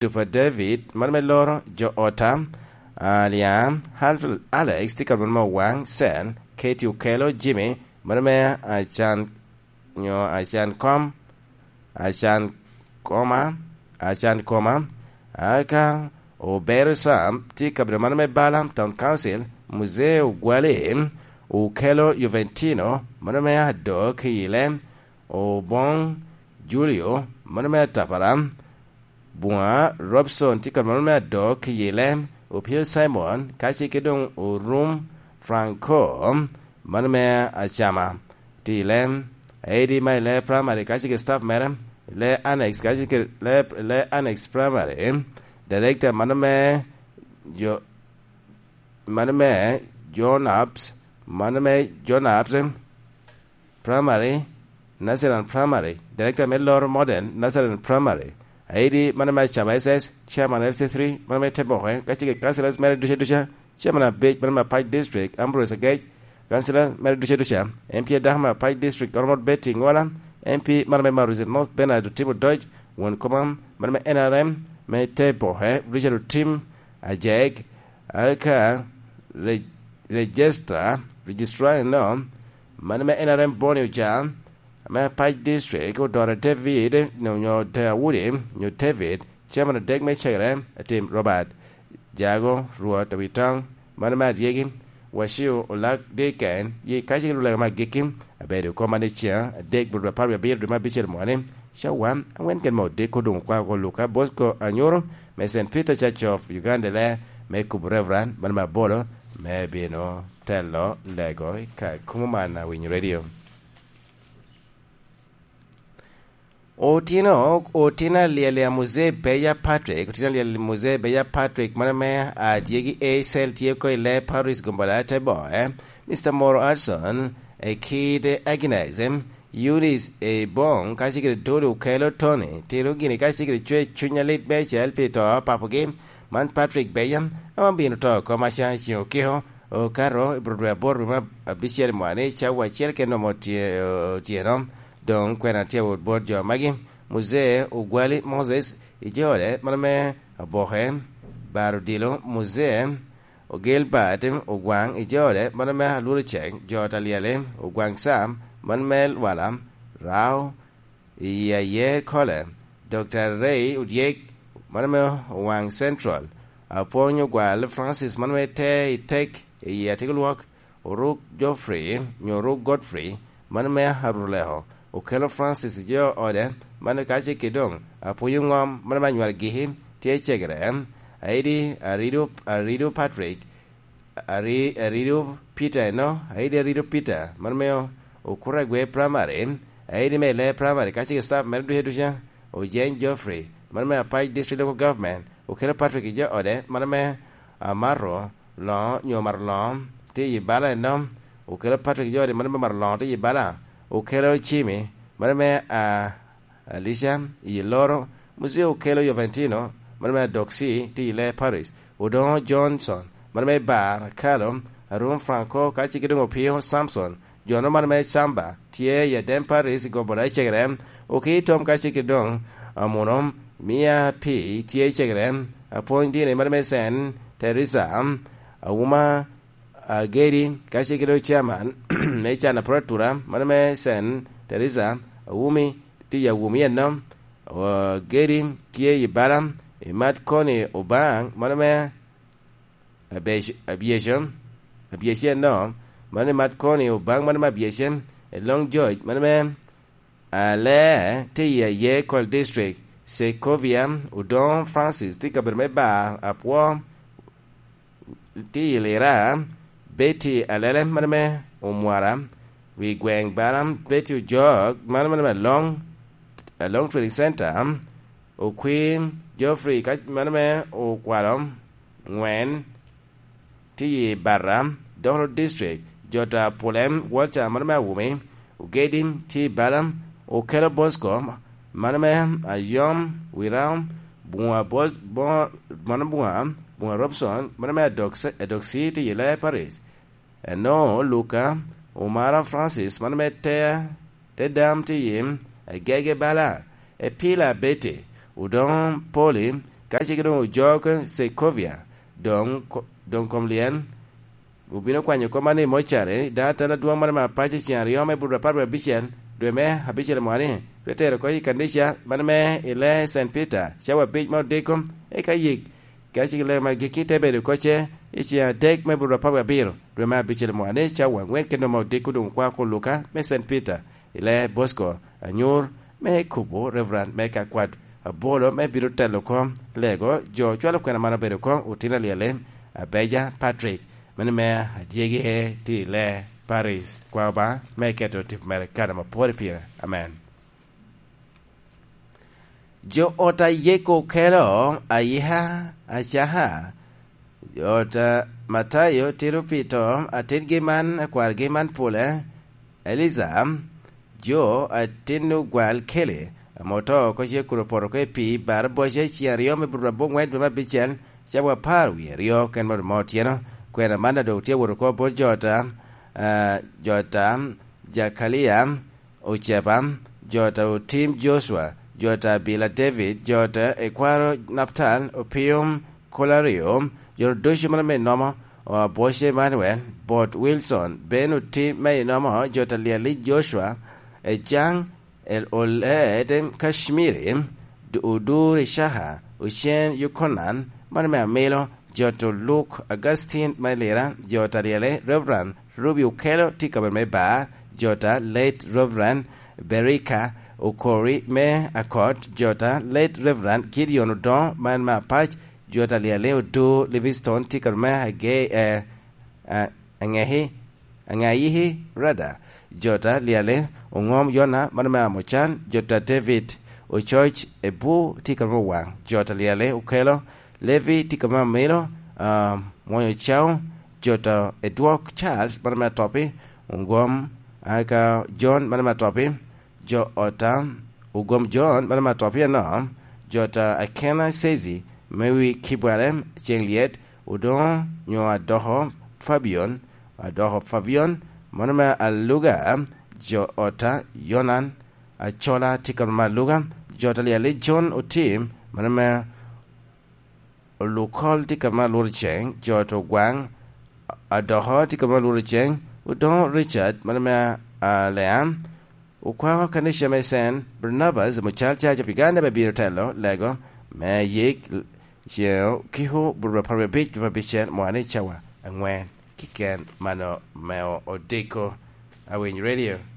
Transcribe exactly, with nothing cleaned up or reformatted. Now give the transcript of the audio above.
Tupa David, mano me loro jo ota, Aliam, Half Alex, tye ka mano me Wang Sen, Katie Okello, Jimmy, mano me Acan, nyo Acan Kom, Acan Koma, Acan Koma, aka Obero Sam, tye ka bedo mano me Bala Town Council, Muzee Ogwali, Okello Juventino, mano me Ado Kiyile, Obong Julio, mano me Atapara, Bwa Robson tye ka mano me Ado Kiyile, Opio Simon, ka ce ke doŋ Orum Franco, mano me Acama, Tile, Eddie ma i le primary, ka ce ke staff mere, le annex, ka ce ke le, le annex primary, director mano me jo, mano me Jonaps, mano me Jonaps, Primary, Nursery and Primary, Director me Loro Modern Nursery and Primary, Aidi mano me Acaba S S, Chairman L C three, mano me Teboke, ka cege Councillors mere duca duca, Chairman Abic, mano me Apac District, Ambrose Agec, Councillor mere duca duca, M P adako me Apac District, Honorable Betty Ngola, M P mano me Maruzi North, Bernard Otim Odoc, won koma, mano me N R M, me Teboke, Richard Otim Ajek, aka re-, Registrar, Registrar eno, mano me N R M Boni Oca, me Apac District, Odora David, nyo, nyo Daudi, nyo David, Chairman adek me Cegere, Atim Robert, Jago, Rwot, Awitong, mano me Adyegi, Wacio, Olak, Diken, yi ka cik lulega me agikki, abedo koma ni ciŋ adek, bro apar wie abiro, dwe me abicel mwani, cawa, angwen ken me odiko doŋ okwa oko Luka Bosco Anyuru, me Saint Peter Church of Uganda, le, me kubo Reverend, mano me abolo, me bino telo lego i ka kumo man a Winyo Radio. Otino, otino alyel a Muzee Beya Patrick, otino alyel Muzee Beya Patrick, mano me Adyegi A Cell tye oko i le Paris Gombola te boe, Mister Moro Hudson, e kite Agnes, Eunice Ebong, ka cigire Tony Okello Tony, tiro gini ka cigire cwe cuny alit meicel pi to papogi, man Patrick Beya, ame obino to oko maca i ceng okiko, okato i bro dwe aboro dwe me abicel mwani cawa acel kene omo tye-, otyeno, doŋ kwena tye awot bot jo magi, Muzee Ogwali Moses, i jo ode, mano me Aboke, Bar Odilo, Muzee, Ogilbert Ogwaŋ i jo ode, mano me Alworo Ceng, jo ot Alyeli, Ogwaŋ Sam, mano me Lwala, Rao, i Ayer Kole, Doctor Ray Odyek, mano me Owaŋ Central, Apwony Ogwal Francis, mano me Te i Tek, i Atigolwok, Oruk Geoffrey, nyo Oruk Godfrey, mano me Aruleko, Okello Francis i jo ode, mano ka ce kede doŋ, Apwony Oŋom, mano me Anywar Giki, tye i Cegere, Aidi Arido, Arido Patrick, Ari-, Arido Peter eno, Aidi Arido Peter, mano me Okuragwe Primary, Aidi me Ile Primary, ka cik staff mere duce duca, Ojeny Geoffrey, mano me Apac District Local Government, Okello Patrick i jo ode, mano me Amaro Loŋo, nyo Maro Loŋo, tye i bala eno, Okello Patrick i jo ode, mano me Maro Loŋo, tye i bala, Okello Cimi, mano me, ah, Alicia, i Loro, Muzio Okello Joventino, mano me Adoksi, tye i Le Paris, Odoŋo Johnson, mano me Bar, Kalo, Arum Franco, ka cik doŋ Opio Samson, jo-nu mano me Camba, tye i Adem Paris, i Gombola i Cegere, Oki Tom ka cik doŋ, Amuno, Mia Pi, tye i Cegere, Apwony Dini, mano me Sen, Teresa, Auma, Agedi, ka cik doŋ Chairman, me Can Apuratura, mano me Sen, Teresa, Awumi, tye i Awumi eno, Agedi, tye i Bala, i Mat Koni Obaŋ, mano me Abyec-, Abyeco, Abyece eno, mano i Mat Koni Obaŋ, mano me Abyece, i Long George, mano me Ale, tye i Ayekol District, Segovia, Odoŋo Francis, tye i kabedo me Bar, Apwo, tye i Lira, Betty Alele, mano me Omwara, wi gweŋ Bala, Betty Ojok, mano, mano me Along, Along Trading Center, Okwir Geoffrey, ka, mano me Okwalo, Ŋwen, tye i Barra, Dolo District, Jota Pulem, Walter, mano me Awumi, Ogedi, tye i Bala, Okello Bosco, mano me Ayom, Wirao, Bunga Bos-, Bo-, mano Bunga, Bunga Robson, mano me Adok-, Adoksi, tye i Lea Paris. Eno Luka, Omara Francis, mano me Te, Te Dam, tye i Agege Bala, Epila Betty, Odoŋo Poli, Ka cege doŋ ojok Segovia, doŋ, doŋ kom lyel obino kwanyo kop man i mocari, daŋ atela adwoŋ mano me apac i ceng aryo me buto apar wie abicel, dwe me abicel mwa ni, te tero oko i kanica mano me i lee Saint Peter, cawa abic me odiko, eka yik, ka cege lee ma gikki te bedo oko ce i ceng adek me buto apar wie abiro, dwe me abicel mwa ni, cawa angwen kede me odiko doŋ okwako Luka me Saint Peter, i lee Bosco, anyur me kubo Reverend me ka kwat abolo me bino telo kom lego jo cwalo kwena man obedo kom otino alyele, Abeja Patrick, meno me adyegi tye i lee Paris, kwa Obaŋa me keto tipo mere i kare ma pwod pire. Amen. Jo ot a Yeko kelo ayika acaka, jo ot a Matayo tito pito atingi man, akwargi man pole, Eliza, jo atin ogwal kele, ame oto oko ce kun opoto oko i pii, bar boce ceng aryo me buto aboŋwen dwe me abicel, cawa apar wie aryo ken moto ma otyeno. Kwena man a doŋ tye wot oko bot jo ot a, ah, jo ot a Jakalia, Oceba, jo ot a Otim Jocua, jo ot a Bila David, jo ot a Ekwaro Naptal, Opium Kolario, jo ot ducu mano me nomo, o Abwoc Emanuel, Bot Wilson, Ben Otim me inomo, jo ot a Liali Jocua, Ejaŋ, El Oled, Kacmiri, Du-, Odur Icaka, Ocen Yukonan, mano me amilo, jo ot a Luk Augustin me Lira, jo ot a Liali, Reverend Ruby Okello tye i kabedo me Bar, jo ot a late Reverend Berika Okori me Akot, jo ot a late Reverend Gideon Odongo man me Apac, jo ot a Liali Odur Livingstone tye i kabedo me Age-, eh, eh, Angehi, Angayihi Rada, jo ot a Liali Oŋom Yona mano me Amocan, jo ot a David Ococ Ebu tye i kabedo me Owaŋ, jo ot a Liali Okello Levi tye i kabedo me Amilo, ah, Mwonyo Cao, jo ot a Edwok Charles mano me Atopi, Ogwom, ah, ka John mano me Atopi, jo ot a Ogwom John mano me Atopi anoo, jo ot a Akena Sezi me wi Kibwale Ceŋ Lyet, Odoŋo nyo Adoko Fabion, Adoko Fabion mano me Aluga, jo ot a Yonan Acola tye i kabedo me Aluga, jo ot a Liali John Otim mano me Olukol tye i kabedo me Alworo Ceŋ, jo ot a Ogwaŋ Adoko tye i kabedo me Alworo Ceŋ, Odoŋo Richard mano me Alea, Okwako kanica me Saint Barnabas Mucal Church of Uganda me bino telo lego me yik ceŋ okiko buto apar wie abic dwe me abicel mwa ni cawa aŋwen kiken mano me odiko. Awiny Radio.